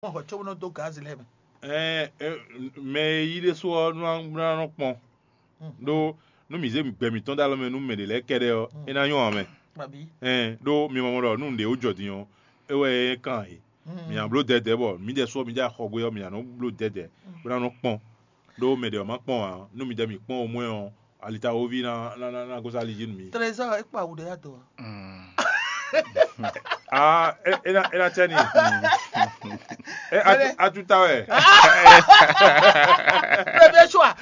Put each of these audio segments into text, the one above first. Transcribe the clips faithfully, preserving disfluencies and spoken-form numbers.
Mɔ hwɛ có bó nɔ dó gǎzi lɛ́ɛ mɛ. Ɛɛ, ɛ, mɛ e yí ɖésú ɔ́ nɔ nɔ kpɔn ɖó nú mǐ zé gbɛ mǐtɔn ɖó alɔ mɛ nú mɛ ɖě lɛ́ɛ kɛ́ɖɛ́ ɔ́, é ná nyɔ́ ǎ mɛ. Ɛɛ, ɖó mi mɔ ɖɔ nú nǔɖé wó jɔ din ɔ́, é wɛ é kan e. Mǐ ná bló dɛ̌dɛ̌ bɔ mǐdɛɛ sú ɔ́, mǐdɛɛ xɔ gbé ɔ́, mǐ ná nɔ bló dɛ̌dɛ̌ bó ná nɔ kpɔn. Ɖó mɛ ɖě ɔ́ má kpɔn ǎ, nú mǐdɛɛ mǐ kpɔn omwɛ ɔ́, alitawoví ná ná ná ná gosín ali jí nú mǐ. Trésor é kpa wǔ ɖé ado. Ah, é é ná é ná tɛ́ ni. É atu atu ta wɛ. Premier choix.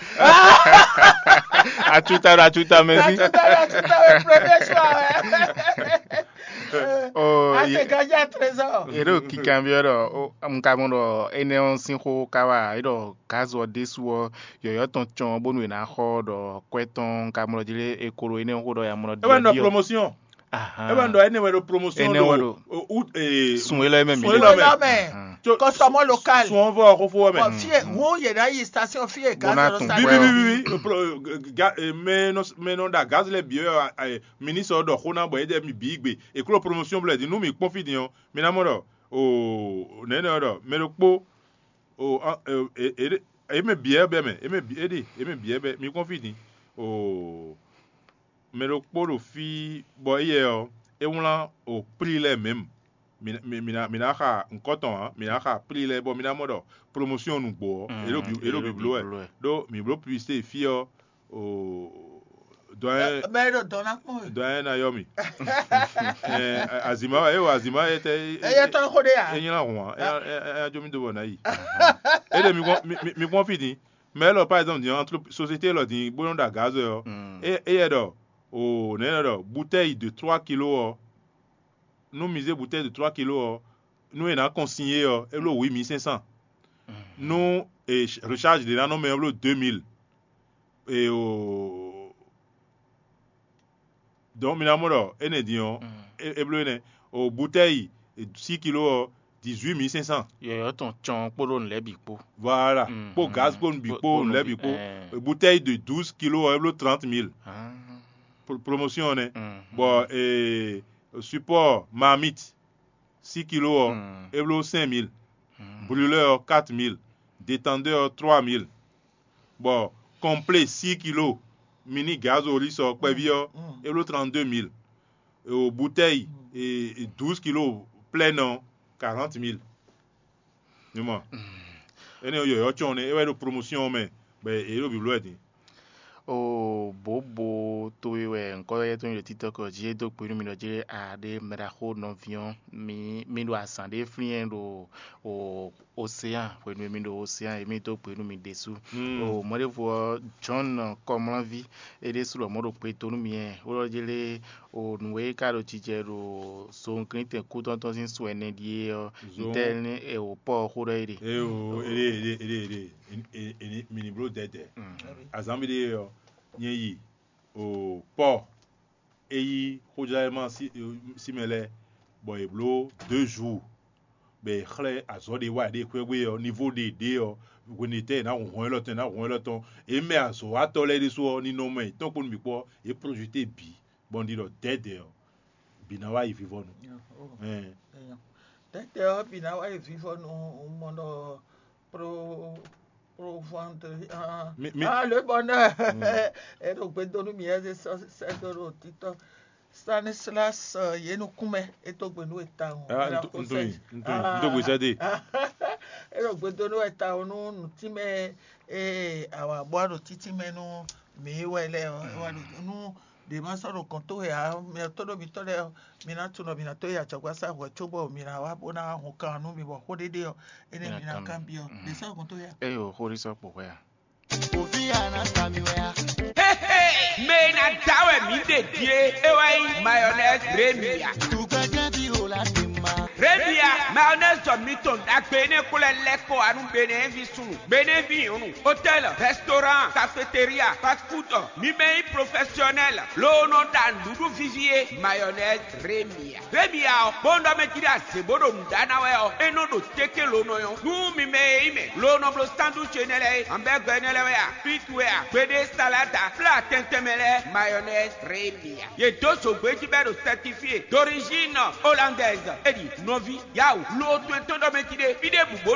Atuta ɖo atuta mɛ sí. Atuta atuta wɛ premier choix wɛ. Oh, Ate ye- gaja trésor. Yɛ ɖo kikanbyɔ ɖɔ o, nka mɔ ɖɔ énɛ́ ɔ́ sín xó ká wá, é ɖɔ gǎzo ɔ́ ɖésú ɔ́, yɔ̌yɔ́ tɔn cɔn bónú è nǎ xɔ ɖɔ kwɛ́ tɔn nka mɔ ɖɔ jí lé, è ko ɖo énɛ́ xó ɖɔ ya mɔ ɖɔ É wɛ nɔ ɖiɖɔ. Promotion. Ahan. É wɛ nɔ ɖɔ énɛ́ wɛ ɖo promotion Énɛ́ wɛ ɖo ɖo. Ut ee Sun élɔ́ mɛ mi. Sun élɔ́ mɛ. Mɛ. Tso- Kɔsɔmɔ local. Sun ɔ́ vɔ xófó wɛ mɛ. Bɔn fie ŋu yɛ ɖe ayi station fie Bɔn ná gaz tún lɔ Bi station. Bi bi bi bi. Pro- ga- eh, Mɛ nɔ mɛ nɔ ɖa gaz lɛ bi ɛ ministre ɔ́ ɖɔ xó ná bɔ é ɖɛ mi bǐ gbe. È kló promotion blɛ din nú mi kpɔ́n fí din ɔ́, mi ná mɔ ɖɔ o nɛ̌nɛ ɔ́ ɖɔ mɛ ɖokpó o ɔ- e- e- e- e mɛ bǐ ɛ bɛ mɛ e mɛ bǐ é ɖi e mɛ bǐ ɛ bɛ mi kpɔ́n fí din o mɛ ɖokpó ɖo fí bɔ éyɛ ɔ́ é wlán o plí lɛ́ɛ mɛ̌m. Mǐ ná- mǐ- mǐ ná- mǐ ná xa nǔkɔn tɔn ǎ, mǐ ná xa plí lɛ́ɛ bɔ mǐ ná mɔ ɖɔ promotion nǔgbó ɔ́, é ɖo bǐ- é ɖo bǐbló wɛ. Ɖó mǐ bló publicité fí ɔ́, o dɔn Mɛ ɖo dɔn ná kpɔn we. Dɔn ná yɔ mì. Azǐma wɛ é wɔ azǐma é tɛ Eye tɔn xo ɖe ya. É nyla hǔn ǎ, é ná jó mì dó bɔ ná yi. É ɖe mi kpɔ́n mi- mi- mi kpɔ́n fí din. Mɛ élɔ́ par exemple din entre société élɔ́ din bó nɔ́ ɖo agǎzɔ ɔ́, é- éyɛ ɖɔ o nɛ̌ nɔ ɖɔ bouteille de trois kilos ɔ́, nú mi zé bouteille de trois kilos ɔ́, nú è nǎ consigné ɔ́, é bló huit mille cinq cents. Nú e recharge ɖě ná nɔ mɛ ɔ́ bló deux mille. E o Donc mi ná mɔ ɖɔ énɛ́ din ɔ́, é é bló énɛ́. O bouteille six kilos ɔ́, dix-huit mille cinq cents. Yɔ̌yɔ́ tɔn cɔn kpódó nǔ lɛ́ɛ bǐ kpó. Voilà. Kpó gaz kpó nǔ bǐ kpó nǔ lɛ́ɛ bǐ kpó. Bouteille de douze kilos ɔ́, é bló trente mille. Pro- Promotion ɔ́ nɛ́. Bɔ ee, support marmite six kilos ɔ́, é bló cinq mille. Brûleur ɔ́, quatre mille. Détendeur ɔ́, trois mille. Bɔ complet six kilos mini gazolí sɔ kpɛví ɔ́, é bló trente-deux mille. O bouteille douze kilos pleine ɔ́, quarante mille. Mi mɔ? Énɛ́ ɔ́ yɔ̌yɔ́ cɔn nɛ́, é wɛ ɖo promotion ɔ́ mɛ, bɔ é ɖo bǐbló wɛ din. O bǒbo towe wɛ ŋkɔ́ yɛ tó nyí ɖo títɔ́ kɔ jí é dó gbe nú mi ɖɔ jí a ɖe mɛɖaxó nɔví ɔ́, mi mi ɖo azǎn ɖé flín ɛ ɖo o Océan, hwenu e mi ɖo Océan e mi dó gbe nú mi ɖésú. O mɔɖěvo ɔ́, John Kɔmlánví, é ɖésú lɔmɔ̌ ɖo gbe dó nú mi ɛ, ó ɖɔ jí lé o nǔ e ka ɖo jijɛ ɖo zowunglíntɛn kútɔ́ntɔ́ sín sɔ ɛnɛ ɖíe ɔ́, ntɛ́ ní e wǒ pɔ́ ɔ́ xó ɖɔ é ɖe. Eo, ede ede ede ede eni mini blo dɛdɛ. Azan bi de yɔ, nyɛ yi o pɔ eyi xojlama si si mɛ lɛ, bɔ e blo deux jours, bɛ e xlɛ azɔ de wa de xwɛgbe ɔ nivo de de ɔ, hwenetɛ na hun hɔn elɔ tɔn na hun elɔ tɔn. E mɛ azɔ wa tɔ lɛ de so ɔ ni nɔ mɛ tɔn kponu bi kpɔ, e projete bi bɔ n di dɔ dɛdɛ ɔ, bi na wa yi vivɔnu. Ɛn. Tete ɔ bi na wa yi vivɔ nu mɔ nɔ pro pro vendre ah, Mi- mi- ah, le bonheur. E ɖo gbe do nu mi ɛ se sɛ do ɖo titɔ. Stanislas ye nukun mɛ e to gbe nu eta o. Ah, nto nto yi nto yi nto gbe sɛ de. E ɖo gbe do nu eta o nu nuti mɛ e awa bɔ ɖo titi mɛ nu mi wɛ lɛ o wa ɖo nu ɖe ma sɔ ɖo kɔn to ya mɛ to ɖo mi tɔ lɛ mi na tunɔ mi na to ya cɔgba sa hwɛ cobɔ mi na wa bo na hun kan nu mi bɔ xo ɖeɖe ɔ ene mi na kan bi ɔ de sɔ kɔn to ya. Eyo xori sɔ kpɔ hwɛ a. Ovi anasta mi wɛ a. Mɛ e na da wɛ mǐ ɖe die e wɛ nyí mayonnaise Remia. Tugbɛjɛ bi o la ti ma. Remia mayonnaise jɔ mitɔn ɖagbe ne xlɛ lɛkɔ anu Benin vi sunu, Benin vi nyɔnu, hôtel, restaurant, cafeteria, fast food, mi mɛ nyí professionnel, loo nɔ ɖa nǔɖuɖu vivi e mayonnaise Remia. Vemia ɔ, bó nɔ mɛ jí ɖe azě bó ɖo nǔ ɖa ná wɛ ɔ, é nɔ ɖo téké lo nɔ nyɔ́. Nú mi mɛ e nyí mɛ lo nɔ bló sandwich énɛ́ lɛ́ɛ é, hamburger énɛ́ lɛ́ɛ wɛ a, frite wɛ a, gbeɖé salada, plat tɛntɛn mɛ lɛ́ɛ, mayonnaise Remia. Yě dó zǒgbé jí bɔ é ɖo certifié d'origine hollandaise. É ɖi Nɔví, yawu, lo to e tɔn ɖɔ mɛ jí ɖe, fí ɖěbǔ bó